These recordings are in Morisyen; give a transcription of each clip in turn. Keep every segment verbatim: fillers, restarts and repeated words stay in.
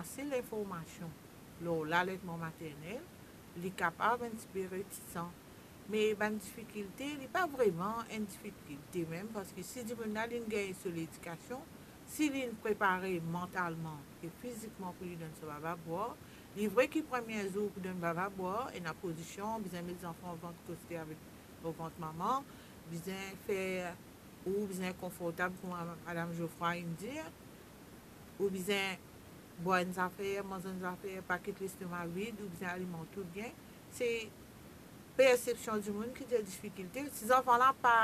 Ase linformasion lor laletman maternel, li kapav enn tipe retisan. Me bann difikilte, li pa vreman enn difikilte mem, parski si dimoun la, li'nn gagn so ledikasion, si li'nn prepare mantalman e fizikman pou li donn so baba bwar, li vre ki premie zour pou donn baba bwar, ena pozision, bizin met zanfan vant koste avek, o vant mama, bizin fer, ou bizin konfortab kouma madam Geoffroy inn dir, ou bizin bwar enn zafer, manz enn zafer, pa kit lestoma vid, ou bizin alimant ou bien. Se persepsion dimoun ki dir difikilte. Si zanfan la pa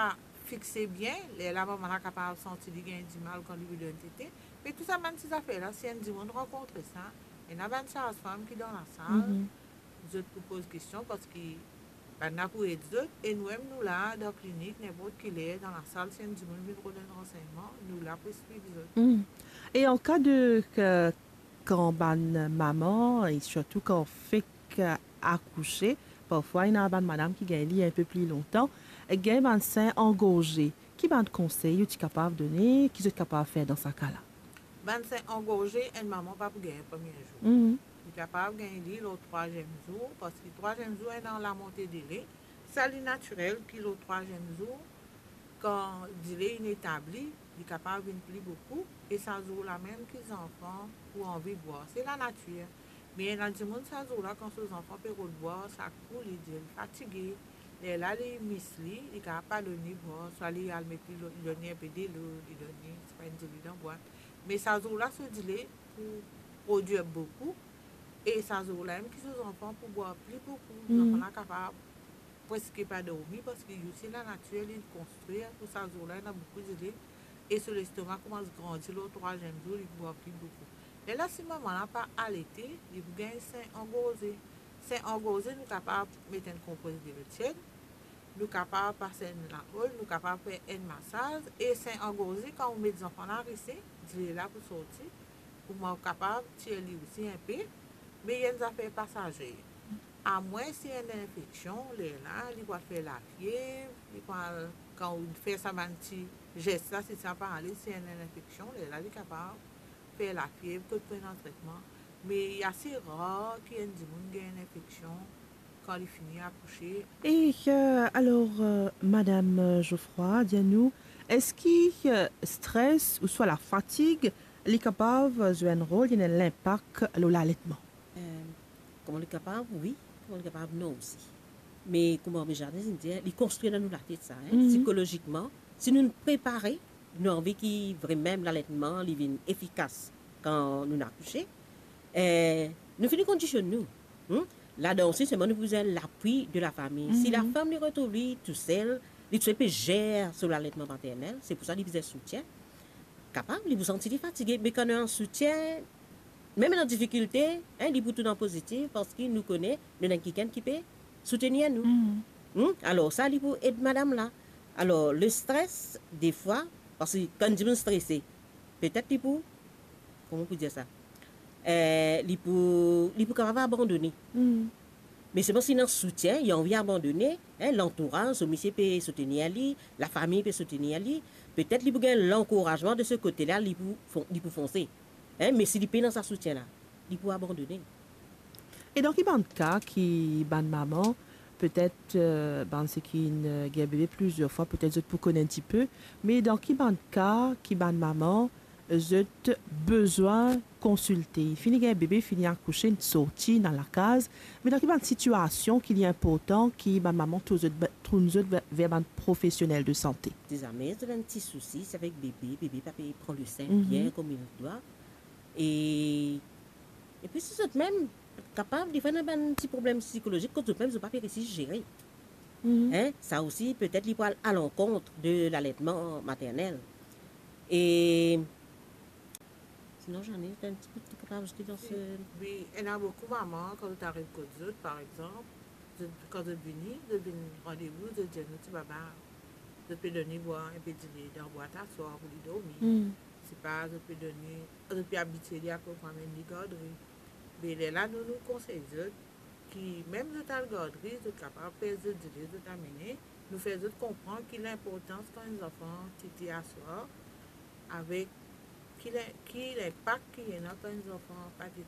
fixe bien, lerla mama la kapav santi li gagn dimal kan li pou donn tete. Me tou sa bann ti zafer la, si enn dimoun rankontre sa, ena bann saz-fam ki dan lasal, zot pou poz kestion, parski bannla pou ed zot, e nou mem nou la dan klinik, ninport ki ler, dan lasal, si enn dimoun vinn rod enn ransegnman, nou la pou explik zot. E an ka de, ke, kan bann mama, e sirtou kan fek akouse, parfwa ena bann madam ki gagn li enpe pli lontan, gagn bann sin angorze, ki bann konsey ou ti kapav done, ki zot kapav fer dan sa ka la? Bann sin angorze, enn mama pa pou gagn premie zour. Li kapav gagn li lor trwaziem zour, parski trwaziem zour ena lamonte dele. Sa li natirel ki lor trwaziem zour, kan dile inn etabli, li kapav vinn pli boukou, e sa zour la mem ki zanfan pou anvi bwar. Se lanatir. Me ena dimoun sa zour la, kan so zanfan pe rod bwar, sak kou li dir li fatige. Lerla li mis li, li kapav pa donn li bwar, swa li al met li, li donn li enpe delo, li donn li, sipa enn dilo dan bwat. Me sa zour la, so dile pou prodwir boukou, e sa zour la mem ki so zanfan pou bwar pli boukou. Zanfan la kapav preske pa dormi, parski li osi lanatir li konstrir pou sa zour la, ena boukou dile, e so lestoma koumans grandi lor trwaziem zour, li bwar pli boukou. Lerla si mama la pa alete, li pou gagn sin angorze. Sin angorze, nou kapav met enn konpres dilo tied, nou kapav pas enn laol, nou kapav fer enn masaz, e sin angorze, kan ou met zanfan la rese, dile la pou sorti, pou mwa kapav tir li osi enpe, me li enn zafer pasaze. Amwins si ena infeksion, lerla, li pou al fer lafiev, li pou al, kan ou fer sa bann ti zes la, si sa pa ale, si ena infeksion, lerla, li kapav fer lafiev, kot pou ena tretman. Me li ase rar ki enn dimoun gagn enn infeksion kan li fini akouse. E, euh, alor, euh, madam, euh, Geoffroy, dir nou, eski, euh, stres ouswa lafatig, li kapav zwe enn rol, li ena enn linpak lor laletman? Euh, kouma li kapav, wi, kouma li kapav, non osi. Me kouma Bernadette inn dir, li konstrir dan nou latet sa, hein, psikolozikman, si nou prepare, nou anvi ki vremem laletman li vinn efikas kan nou akouse, eh, nou fini kondisionn nou. Hmm? Ladan osi, selman nou bizin lapwi de lafami. Si lafam li retrouv li tousel, li tousel pe zer so laletman maternel, se pou sa li bizin soutien. Kapav, li pou santi li fatige, me kan nou ena soutien, mem dan difikilte, hein, li pou tourn pozitif, parski nou kone nou ena kikenn ki pe soutenir nou. Hmm? Alor sa, li pou ed madam la. Alor, le stres, defwa, parski kan dimoun strese, petet li pou, kouma pou dir sa? Eh, li pou, li pou kapav abandone. Me selman si li ena soutien, li anvi abandone, hein, lantouraz, so misie pe soutenir li, lafami pe soutenir li, petet li pou gagn lankourazman de se kote la, li pou fon-, li pou fonse. Hein, me si li pena sa soutien la, li pou abandone. E dan ki bann ka ki bann mama, petet, euh, bann seki inn, euh, gagn bebe plizier fwa, petet zot pou konn enn tipe, me dan ki bann ka ki bann mama, zot bizin konsilte? Fini gagn bebe, fini akouse, sorti, ena lakaz, me dan ki bann sitiasion ki li inportan ki bann mama tourn zot, tourn zot ver, ver bann profesionel de sante? Si zame zot ena enn ti sousi, se avek bebe, bebe pa pe pran lesin bien kouma li dwa. E, epi si zot mem kapav, defwa ena bann ti problem psikolozik kot zot mem zot pa pe resi zere. Hein? Sa osi, petet li pou al alankont de laletman maternel. E sinon, Jeanne, t'as un petit peu de truc à rajouter dans ce... Wi, ena boukou mama, kan zot ariv kot zot, par exanp, zot, kan zot vini, zot vinn randevou, zot dir nou ti baba, zot pe donn li bwar enpe dile dan bwat aswar pou li dormi. Sipa, zot pe donn li, zot pe abitie li apre pou amenn li gardri. Me lerla, nou, nou konsey zot ki mem zot al gardri, zot kapav pes zot dile, zot amene, nou fer zot konpran ki linportans kan enn zanfan tete aswar, avek ki lin-, ki linpak ki ena kan enn zanfan pa tete